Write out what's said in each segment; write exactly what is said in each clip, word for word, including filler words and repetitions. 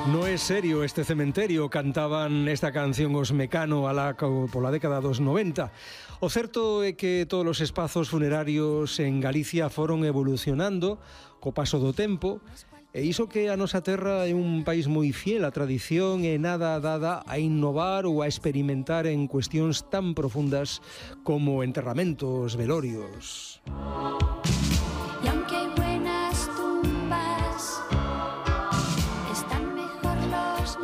No é serio este cementerio, cantaban esta canción os Mecano alá pola década dos noventa. O certo é que todos os espazos funerarios en Galicia foron evolucionando co paso do tempo, e iso que a nosa terra é un país moi fiel á tradición e nada dada a innovar ou a experimentar en cuestións tan profundas como enterramentos, velorios.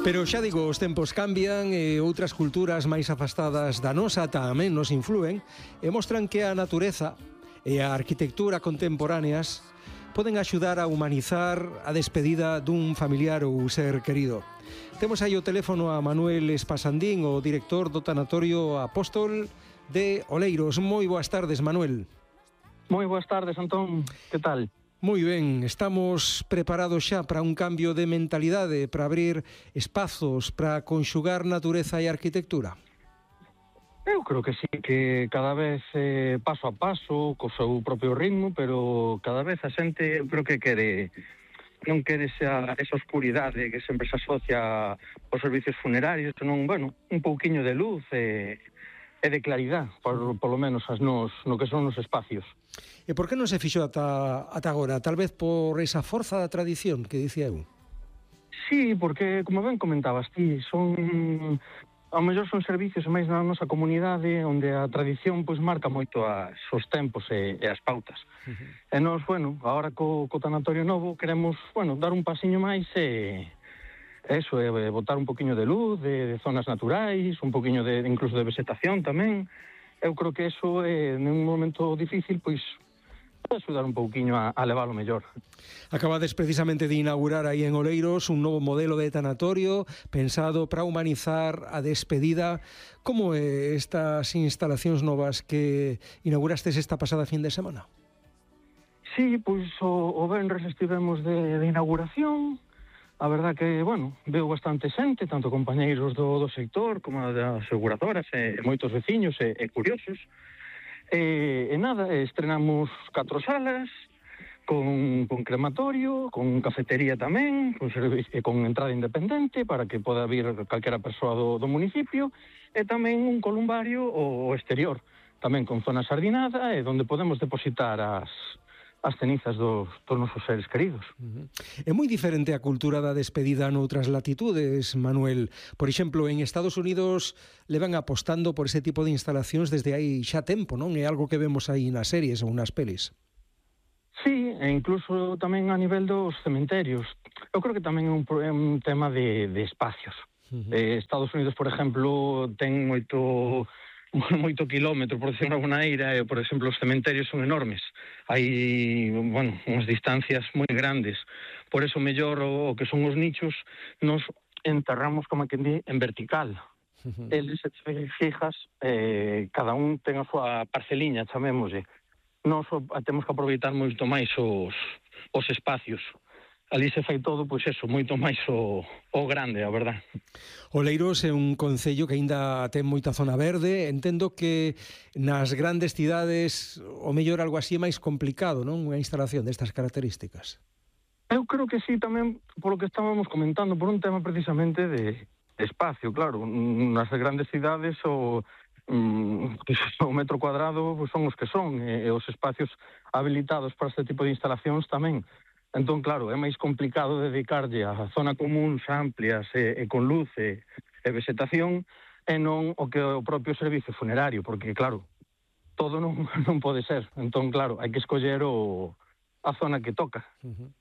Pero xa digo, os tempos cambian e outras culturas máis afastadas da nosa tamén nos influen e mostran que a natureza e a arquitectura contemporáneas poden axudar a humanizar a despedida dun familiar ou ser querido. Temos aí o teléfono a Manuel Espasandín, o director do Tanatorio Apóstol de Oleiros. Moi boas tardes, Manuel. Moi boas tardes, Antón. Que tal? Moi ben, estamos preparados xa para un cambio de mentalidade, para abrir espazos, para conxugar natureza e arquitectura? Eu creo que sí, que cada vez eh, paso a paso, co seu propio ritmo, pero cada vez a xente, eu creo que quere, non quere esa, esa oscuridade que sempre se asocia aos servicios funerarios, senón, bueno, un pouquiño de luz e, e de claridade, por, por lo menos as nos, no que son os espacios. E por que non se fixo ata, ata agora? Tal vez por esa forza da tradición que dicía eu? Sí, porque, como ben comentabas ti, son... ao mellor son servicios máis na nosa comunidade onde a tradición pois marca moito as, os tempos e, e as pautas. Uh-huh. E nós, bueno, agora co, co tanatorio novo queremos, bueno, dar un pasiño máis e... eso, é botar un poquinho de luz, de, de zonas naturais, un poquinho de, incluso de vegetación tamén. Eu creo que eso, eh, nun momento difícil, pois, pode axudar un pouquiño a, a leválo mellor. Acabades precisamente de inaugurar aí en Oleiros un novo modelo de tanatorio pensado para humanizar a despedida. Como é estas instalacións novas que inaugurastes esta pasada fin de semana? Sí, pois o, o venres estivemos de, de inauguración. A verdad que, bueno, veo bastante xente, tanto compañeiros do, do sector como das aseguradoras e, e moitos veciños e, e curiosos. E, e nada, estrenamos catro salas, con, con crematorio, con cafetería tamén, con, servicio, con entrada independente para que poda vir calquera persoa do, do municipio, e tamén un columbario o, o exterior, tamén con zona sardinada e onde podemos depositar as... as cenizas dos, dos nosos seres queridos. Uh-huh. É moi diferente a cultura da despedida noutras latitudes, Manuel. Por exemplo, en Estados Unidos levan apostando por ese tipo de instalacións desde hai xa tempo, non? É algo que vemos aí nas series ou nas pelis. Sí, e incluso tamén a nivel dos cementerios. Eu creo que tamén é un, é un tema de, de espacios. Uh-huh. eh, Estados Unidos, por exemplo, ten moito... moito kilómetro, por decirlo de alguna maneira, e, por exemplo, os cementerios son enormes. Hai, bueno, unhas distancias moi grandes. Por eso, mellor, o, o que son os nichos, nos enterramos, como que di, en vertical. Uh-huh. Eles, se fijas, eh, cada un ten a súa parceliña, chamémoslle. Nos temos que aproveitar moito máis os, os espacios. Ali se fai todo, pois eso, moito máis o, o grande, a verdad. Oleiros é un concello que aínda ten moita zona verde. Entendo que nas grandes cidades o mellor algo así é máis complicado, non? Unha instalación destas características. Eu creo que sí, tamén polo que estábamos comentando, por un tema precisamente de espacio, claro. Nas grandes cidades o, o metro cuadrado son os que son, e os espacios habilitados para este tipo de instalacións tamén. Entón, claro, é máis complicado dedicarlle a zona comuns amplias e, e con luz e, e vegetación e non o que o propio servicio funerario, porque, claro, todo non, non pode ser. Entón, claro, hai que escoller o, a zona que toca. Uh-huh.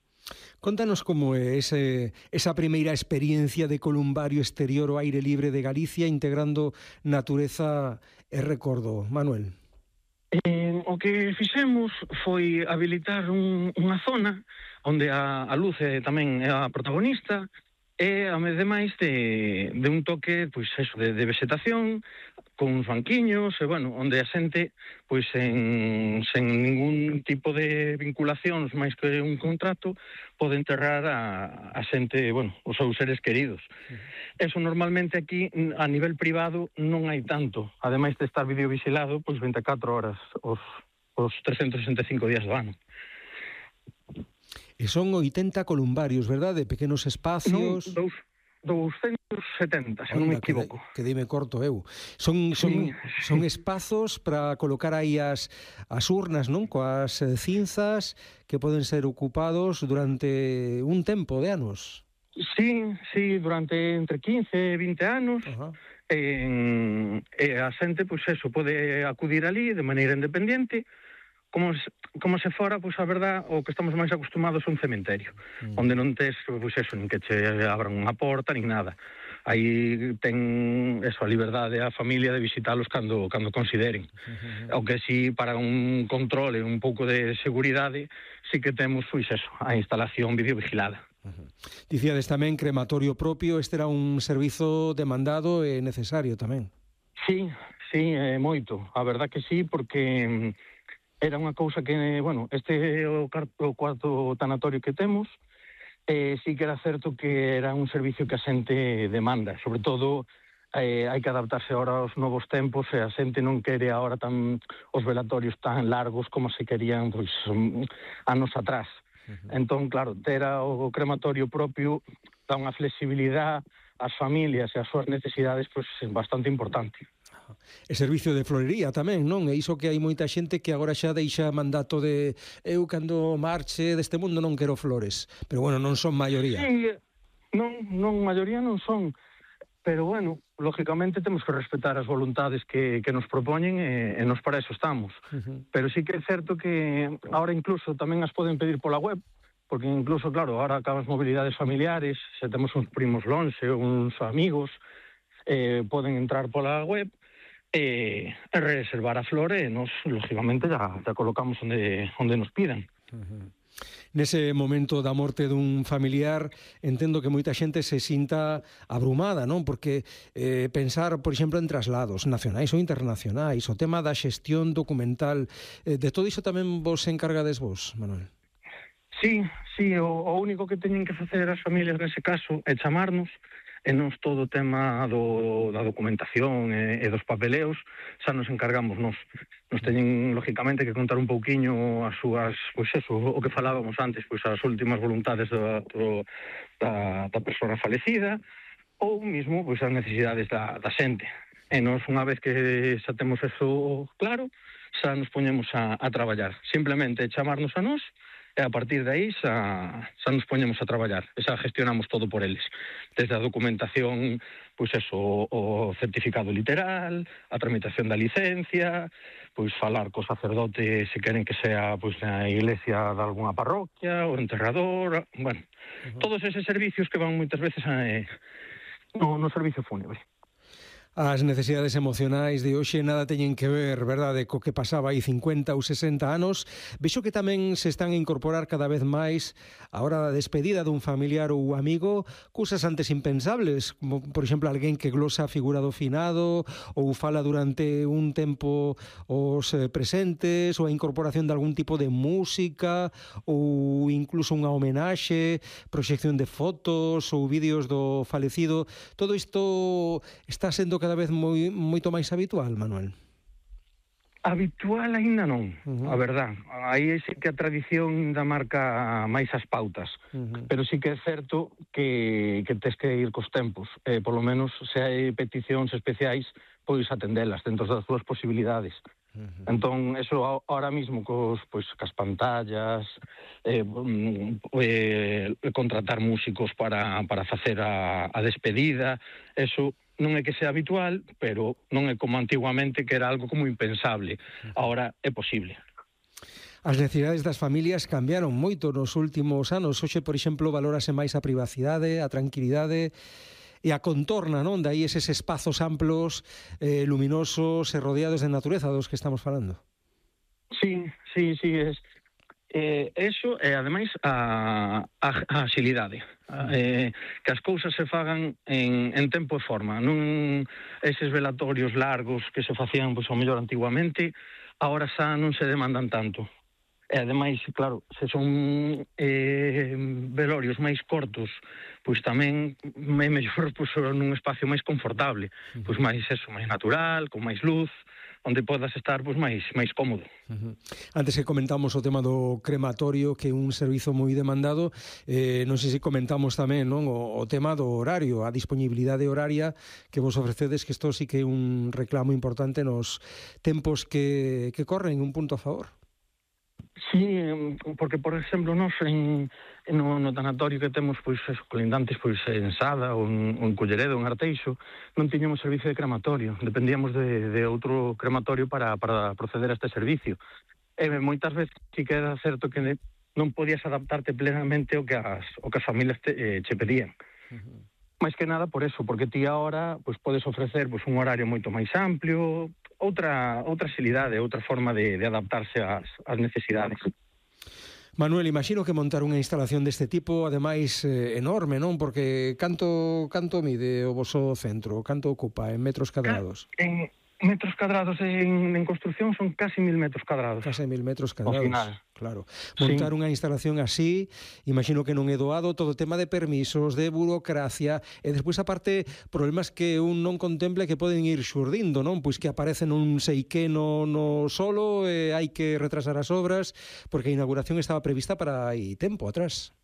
Contanos como é ese, esa primeira experiencia de columbario exterior ao aire libre de Galicia integrando natureza e recordo, Manuel. Eh, o que fixemos foi habilitar un, unha zona onde a, a luz é, tamén é a protagonista e, ademais, de, de un toque, pois, eso, de, de vegetación, con uns banquiños, e, bueno, onde a xente, pois, en, sen ningún tipo de vinculacións máis que un contrato, pode enterrar a, a xente, bueno, os seus seres queridos. Uh-huh. Eso normalmente aquí, a nivel privado, non hai tanto. Ademais de estar videovigilado, pois, vinte e catro horas, os, os trescentos sesenta e cinco días do ano. E son oitenta columbarios, verdade? Pequenos espacios... Non, dous, douscentos e setenta, se non me equivoco. Que, que dime corto eu. Son, son, sí, son espazos para colocar aí as, as urnas, non? Coas cinzas que poden ser ocupados durante un tempo de anos. Sí, sí, durante entre quince e vinte anos. Uh-huh. E, e a xente, pois eso, pode acudir ali de maneira independente, como se, como se fora, pois a verdad, o que estamos máis acostumados a un cementerio, mm. onde non tes, pois eso, nin que che abran unha porta, nin nada. Aí ten eso, a liberdade a familia de visitalos cando, cando consideren. Uh-huh. O que si, para un controle, un pouco de seguridade, si que temos, pois eso, a instalación videovigilada. Uh-huh. Dicíades tamén crematorio propio, este era un servizo demandado e necesario tamén. Sí, sí, é moito. A verdad que sí, porque era unha cousa que, bueno, este é o, o cuarto tanatorio que temos, eh, sí que era certo que era un servicio que a xente demanda, sobre todo eh, hai que adaptarse ahora aos novos tempos e a xente non quere ahora tan os velatorios tan largos como se querían pois anos atrás. Uh-huh. Entón, claro, ter o crematorio propio dá unha flexibilidade ás familias e ás súas necesidades pois bastante importante. E servicio de florería tamén, non? E iso que hai moita xente que agora xa deixa mandato de eu cando marche deste mundo non quero flores. Pero bueno, non son maioría. Sí, non, non maioría non son. Pero bueno, lógicamente temos que respetar as voluntades que, que nos propoñen e, e nos para eso estamos. Uh-huh. Pero sí que é certo que ahora incluso tamén as poden pedir pola web, porque incluso, claro, ahora acabas mobilidades familiares, se temos uns primos lonxe, uns amigos, eh, poden entrar pola web e, e reservar a flor e nos, lógicamente, ya, ya colocamos onde, onde nos pidan. Uh-huh. Nese momento da morte dun familiar, entendo que moita xente se sinta abrumada, non? Porque eh, pensar, por exemplo, en traslados nacionais ou internacionais, o tema da xestión documental, eh, de todo iso tamén vos encargades vos, Manuel? Sí, sí, o, o único que teñen que facer as familias nese caso é chamarnos, e nos todo o tema do, da documentación e, e dos papeleos xa nos encargamos nos. Nos teñen, lógicamente, que contar un pouquiño as súas, pois eso, o que falábamos antes, pois as últimas voluntades da, do, da, da persona falecida, ou mismo, pois as necesidades da, da xente. E nos, unha vez que xa temos eso claro, xa nos poñemos a, a traballar. Simplemente chamarnos a nós, e a partir de aí xa, xa nos poñemos a traballar, e xa gestionamos todo por eles, desde a documentación, pois eso, o, o certificado literal, a tramitación da licencia, pois falar co sacerdote se queren que sea pois na iglesia de alguna parroquia, o enterrador, bueno, uh-huh. todos eses servicios que van moitas veces a, eh, no, no servicio fúnebre. As necesidades emocionais de hoxe nada teñen que ver, verdade, co que pasaba aí cincuenta ou sesenta anos. Vexo que tamén se están a incorporar cada vez máis a hora da despedida dun familiar ou amigo, cousas antes impensables, como, por exemplo, alguén que glosa a figura do finado ou fala durante un tempo os presentes, ou a incorporación de algún tipo de música ou incluso unha homenaxe, proxección de fotos ou vídeos do falecido. Todo isto está sendo cada vez moi, moito máis habitual, Manuel? Habitual aínda non, uh-huh. a verdad. Aí sí que a tradición da marca máis as pautas, uh-huh. pero sí que é certo que, que tes que ir cos tempos. Eh, por lo menos, se hai peticións especiais, pois atendelas dentro das túas posibilidades. Uh-huh. Entón, eso ahora mismo cos, pois, cas pantallas, eh, eh, contratar músicos para, para facer a, a despedida, eso non é que sea habitual, pero non é como antiguamente, que era algo como impensable. Ahora é posible. As necesidades das familias cambiaron moito nos últimos anos. Hoxe, por exemplo, valórase máis a privacidade, a tranquilidade e a contorna, non? Daí eses espazos amplos, eh, luminosos e rodeados de natureza dos que estamos falando. Sí, sí, sí, es... Eh, eso e, ademais, a, a, a axilidade. Eh, que as cousas se fagan en, en tempo e forma. Non eses velatorios largos que se facían, pois, ao mellor antiguamente, agora xa non se demandan tanto. E, ademais, claro, se son eh, velorios máis cortos, pois tamén é mellor pois, nun espacio máis confortable, pois máis eso, máis natural, con máis luz, onde podas estar pois máis máis cómodo. Uh-huh. Antes que comentamos o tema do crematorio, que é un servizo moi demandado, eh, non sei se comentamos tamén, non, o, o tema do horario, a disponibilidade horaria que vos ofrecedes, que isto sí que é un reclamo importante nos tempos que, que corren, un punto a favor. Sí, porque, por exemplo, nos en, no, no tanatorio que temos pois eso, colindantes pois en Sada ou en, ou en Culleredo, en Arteixo, non tiñamos servicio de crematorio, dependíamos de, de outro crematorio para, para proceder a este servicio. E moitas veces sí que era certo que non podías adaptarte plenamente ao que as, ao que as familias te, eh, che pedían. Uh-huh. Mais que nada por eso, porque ti agora pois, podes ofrecer pois, un horario moito máis amplio, outra outra xilidade, outra forma de, de adaptarse ás, ás necesidades. Manuel, imagino que montar unha instalación deste tipo, ademais, eh, enorme, non? Porque canto canto mide o voso centro? Canto ocupa en metros cadrados? En metros cadrados en, en construcción son casi mil metros cadrados. Casi mil metros cadrados, ao final. Claro. Montar sí. unha instalación así, imagino que non é doado, todo o tema de permisos, de burocracia, e despois, aparte, problemas que un non contemple que poden ir xurdindo, non? Pois que aparecen un sei que no, no solo, e hai que retrasar as obras, porque a inauguración estaba prevista para aí tempo atrás.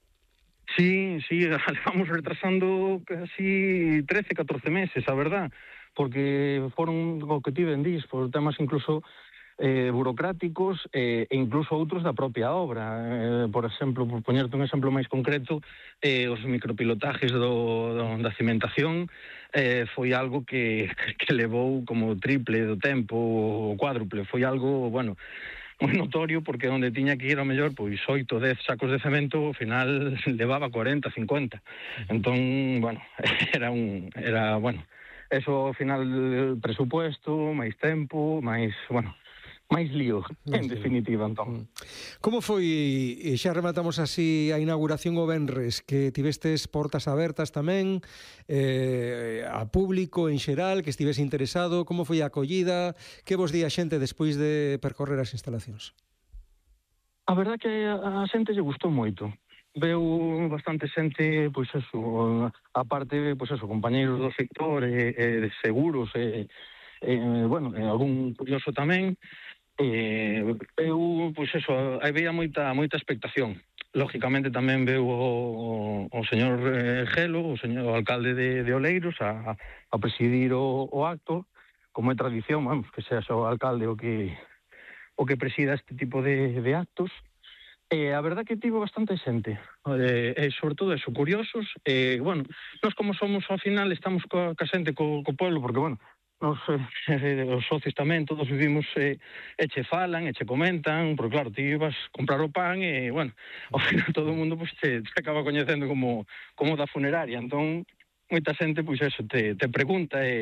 Sí, sí, vamos retrasando casi trece, catorce meses, a verdad, porque foron o que ti vendís, por temas incluso eh, burocráticos eh, e incluso outros da propia obra. Eh, por exemplo, por poñerte un exemplo máis concreto, eh, os micropilotajes do, do, da cimentación eh, foi algo que, que levou como triple do tempo, o cuádruple, foi algo, bueno, moi notorio, porque onde tiña que ir ao mellor pois oito, dez sacos de cemento, ao final levaba cuarenta, cincuenta. Entón, bueno, era un era, bueno, eso ao final presupuesto, máis tempo, máis, bueno, máis lío, en definitiva, entón. Como foi, e xa rematamos así a inauguración o venres, que tivestes portas abertas tamén, eh, a público en xeral, que estivese interesado, como foi a acollida, que vos di a xente despois de percorrer as instalacións? A verdad que a xente lle gustou moito. Veu bastante xente, pois eso, aparte, pois eso, compañeiros do sector, e, e de seguros, e, e bueno, e algún curioso tamén. Eh, eu, pois eso, había moita moita expectación. Lógicamente tamén veu o, o señor eh, Gelo, o señor o alcalde de, de Oleiros, a, a presidir o, o acto, como é tradición, vamos, que sea o alcalde o que o que presida este tipo de, de actos. E a verdad que tivo bastante xente, e, e sobre todo eso, curiosos, e, bueno, nós como somos ao final, estamos coa, coa xente, co, co pueblo, porque, bueno, Nos, eh, os socios tamén, todos vivimos eh, e che falan, e che comentan, porque claro, ti ibas comprar o pan e, bueno, ao final todo o mundo pues, te, te acaba coñecendo como, como da funeraria, entón moita xente, pois eso, te, te pregunta e